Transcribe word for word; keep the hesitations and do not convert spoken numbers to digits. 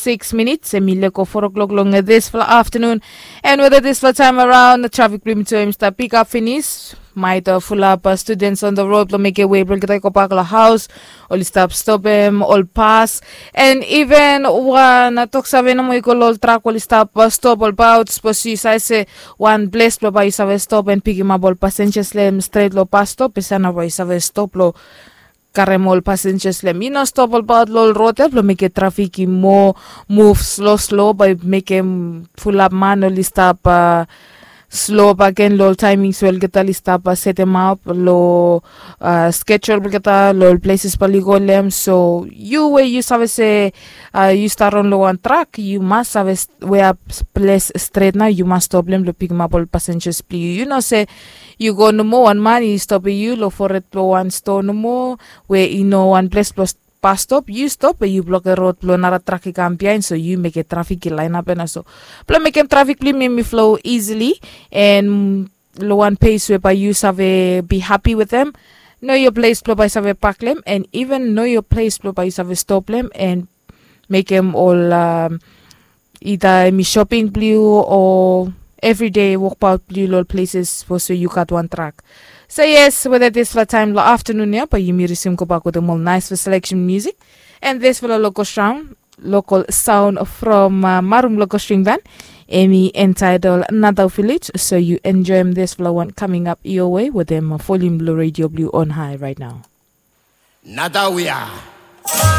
Six minutes em i leko four o'clock long dispela afternoon. And whether dispela time around traffic blue to him start pick up finish, might uh, full up uh, students on the road lo make a way bro kita go back lo house. Oli stop stop him all pass. And even one uh, talk save no more go lo track oli stop uh, stop all about suppose you say say one place blo ba you save stop and pick him up all passengers lem straight lo pass stop pesana ba you save stop lo karem ol passengers lem i no stop olbaot lo ol rod ya blo mekem trafik i moa muv slo slo bai mekem fulap man oli stap slo bagen lo ol taimings we olgeta oli stap setem ap lo skejul blogeta lo ol pleses bali go lem so yu we yu save se yu stap ron lo wan trak yu mas save weap ples stret nao yu mas stop lem blo pikimap ol passengers blong yu yu no se yu go nomo wan man i stopim yu long foret blong wan stoa nomo we i no wan ples blong pas stop yu stop we yu blokem rod blong nara trak i kam biain so yu mekem trafik i lainap ya na so blong mekem trafik blong yumi em i flo isili en long wan pes we bai yu save bi hapi wetem no yo ples blong bai save pak lem en iven no yo ples blong bai yu save stop lem en mekem ol ida em i shoping blong yu o evride wokbaot blong yu long ol pleses sapos we yu gat wan trak. So yes weda dispela taim long aftanun ya bai yumi risim gobak wetem ol naispela seleksen musik. And dispela local sound local sound from uh, marum local string band em i entitled Nadau Village. So you enjoy dispela one coming up your way wetem volume blong radio blong yu on high right now. Nadau ya.